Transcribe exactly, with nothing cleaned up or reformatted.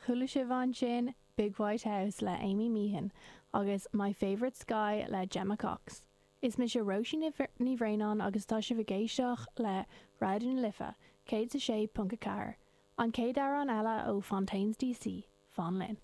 Chuala sibh ansin Big White House le Amy Meehan agus My Favourite Sky le Gemma Cox. Is mise Róisín Ní Bhraonáin agus tá sibh ag éisteacht le Raidió na Life, céad a sé ponc a ceathair. An chéad amhrán eile ó Fontaines DC, Fan linn.